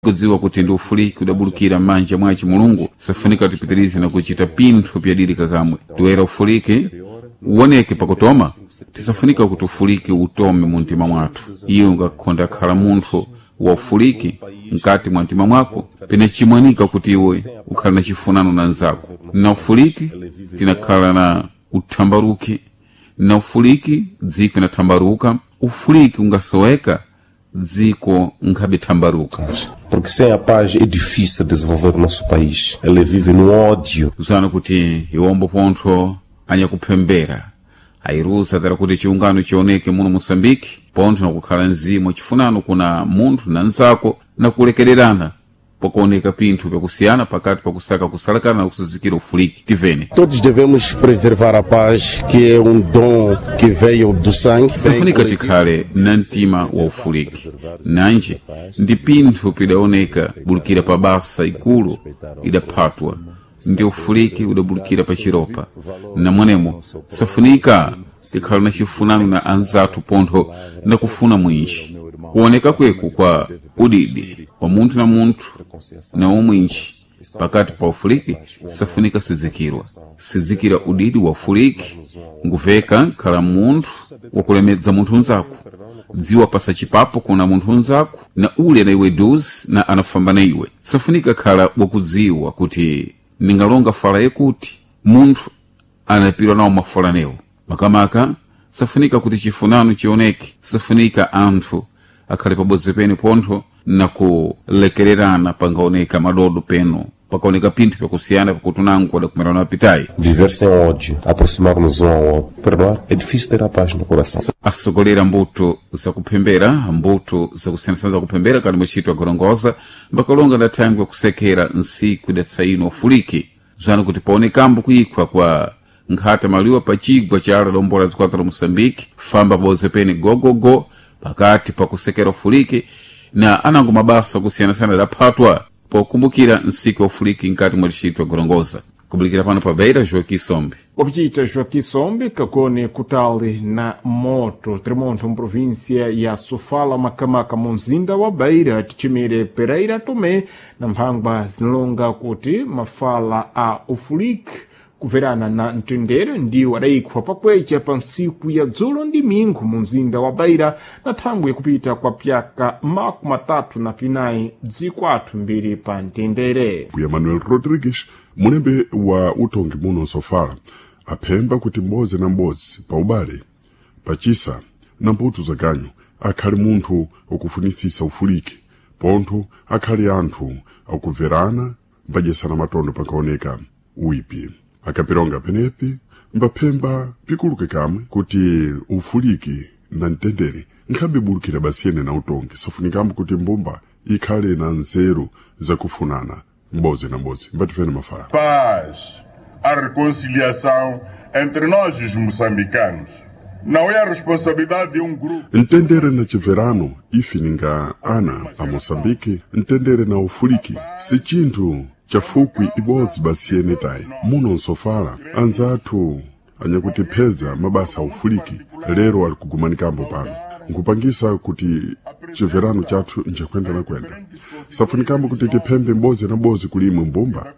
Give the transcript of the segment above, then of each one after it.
Kudziwa kuti ndi ufuliki udabulukira m'manja mwaci Mulungu, safunika tipitirize na kuchita pinthu pyadilika kamwe. Toera ufuliki uwoneke pakutoma, tisafunika kuti ufuliki utome mu mtima mwathu. Iye ungakhonda khala munthu wa ufuliki mkati mwa mtima mwako, pena chimwanika kuti iwe ukhale na chifunano na nzako. Na ufuliki tinakhala na uthambaruki, na ufuliki dziko inathambaruka. Ufuliki ungasoweka, dziko nkhabe thambaruka. Porque sem a paz é difícil desenvolver o nosso país. Ele vive no ódio. Zana kuti iwombo pontho anyakuphembera ayirusa tera kuti chiungano chioneke muno Moçambique, pontho nakukhala mzimu chifunano kuna munthu na nzako na kulekererana pakuoneka pinthu pyakusiyana pakati pakusaka kusalakana na kusuzikira ufuliki. Tivene Todos devemos preservar a paz, que é um dom que veio do sangue. Safunika tikhale na mtima wa ufuliki. Nanje ndi pinthu pidaoneka bulukira pa basa ikulu idaphatwa ndi ufuliki udabulukira pa chiropa. Namwenemo safunika tikhala na chifunano na anzathu pontho na kufuna mwinji kuoneka kweku kwa udidi kwa munthu na munthu na umwinji pakati pa ufuliki safunika sidzikirwa sidzikira udidi wa ufuliki nguveka khala munthu wakulemedza munthu unzako, dziwa pasa chipapo kuna munthu unzako na ule na iwe duzi na anafamba na iwe. Safunika khala wakudziwa kuti ningalonga fala yekuti munthu anapirwa nawo mafala newo. Makamaka safunika kuti chifunano chioneke, safunika anthu akhale pabodzi pene pontho na kulekererana pangaoneka madodo peno, pakaoneka pinthu pyakusiyana pakutunango adakumerana apitayi. Viver sem ódio, aproximar-nos um ao outro. Perdoar é difícil ter a paz no coração. Asogolera mbuto zakuphembera, mbuto zakusiyanasiyana zakuphembera kali mwachito agorongoza mbakalonga ndathangwe kusekera nsiku idatsaino ufuliki, zwana kuti paonekambo kuyikhwa kwa nkhata maliwa pa chigwa cha ala dombola zikwata la Moçambique, famba pabodzi pene gogogo pakati pakusekera ufuliki na anango mabasa kusiyanasiyana adaphatwa pokumbukira nsiku ya ufuliki nkati mwa distrito agorongoza. Kubulikira pano pa Beira, Joaquim Sombe. Opicita Joaquim Sombe kakone kutali na moto tremonto mprovíncia ya Sofala, Makamaka, munzinda wa Beira, tichimire Pereira Tomé na mphangwa zinalonga kuti mafala a ufuliki kuverana na mtendere ndiwo adayikhwa pakwecha pa ntsiku ya dzulo ndi mingu mu mzinda wa Beira na thangwi yakupita kwa pyaka 34 dziko athu mbiri pa mtendere. Mbuya Manuel Rodrigues, mulembe wa utongi muno Sofala, aphemba kuti m'bodzi na m'bodzi pa ubale, pachisa na mputu zaganyu akhale munthu wakufunisisa ufuliki, pontho akhale anthu akubverana mbadyesana matondo pankaoneka uipi. Akapironga penepi mbaphemba pikuluke kamwe kuti ufuliki na mtendere nkhabibulukira basiyene na utongi, safunikambo kuti mbumba ikhale na nzeru zakufunana m'bodzi na m'bodzi. Mbatifene mafala. Paz, a reconciliação entre nós, os moçambicanos. Não é a responsabilidade de um grupo. Mtendere na chibverano ife ninga ana a Moçambique, mtendere na ufuliki si chinthu chafukwi ibodzi basiyene tayi. Muno nsofala anzathu anyakutipheza mabasa a ufuliki lero ali kugumanikambo pano nkupangisa kuti chibverano chathu nchakwenda na kwenda. Safunikambo kuti tiphembe m'bodzi na m'bodzi kulimwe mbumba,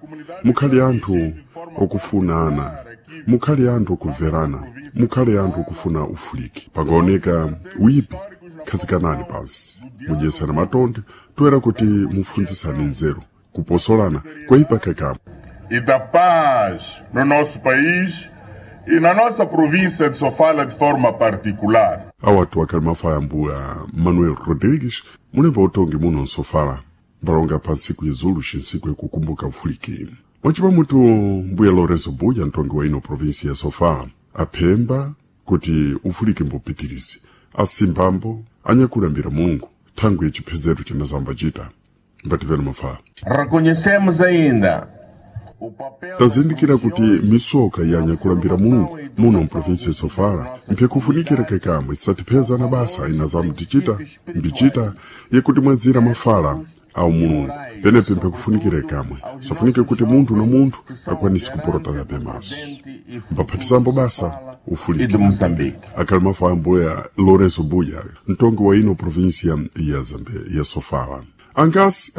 mukhale anthu okufunana, mukhale anthu okubverana, mukhale anthu okufuna ufuliki. Pangaoneka wipi, khazikanani pansi mudyesana matonde toera kuti mufunzisane nzeru kuposolana kwaipa kakamu. E da paz no nosso país e na nossa província de Sofala de forma particular. Awatu akhali mafaya mbuya Manuel Rodrigues, mulembe utongi muno nsofala, mbalonga pa ntsiku izulu xinsiku ikukumbuka ufuliki. Mwacipamutu mbuya Lourenço Buya, mtongi wa ino província ya Sofala, aphemba kuti ufuliki mbupitirize, asimbambo anyakulambira Mulungu thangwi yachiphezero cinazamba cita. Mbativeni mafala. Reconhecemos ainda o papel Tazindikira kuti misoka yanyakulambira Mulungu muno mprovinsi ya Sofala mpyakufunikira kekamwe isatiphezana basa inazamu tichita mbichita yekuti mwazira mafala au Mulungu penepe mpyakufunikira kamwe safunike kuti munthu na munthu akwanise kupolotana pemaso mbaphatizambo basa e de ufuliki. Moçambique. Akhali mafala mbuya Lourenço Buya, mtongi wa ino província ya Zambe ya Sofala. Angasi.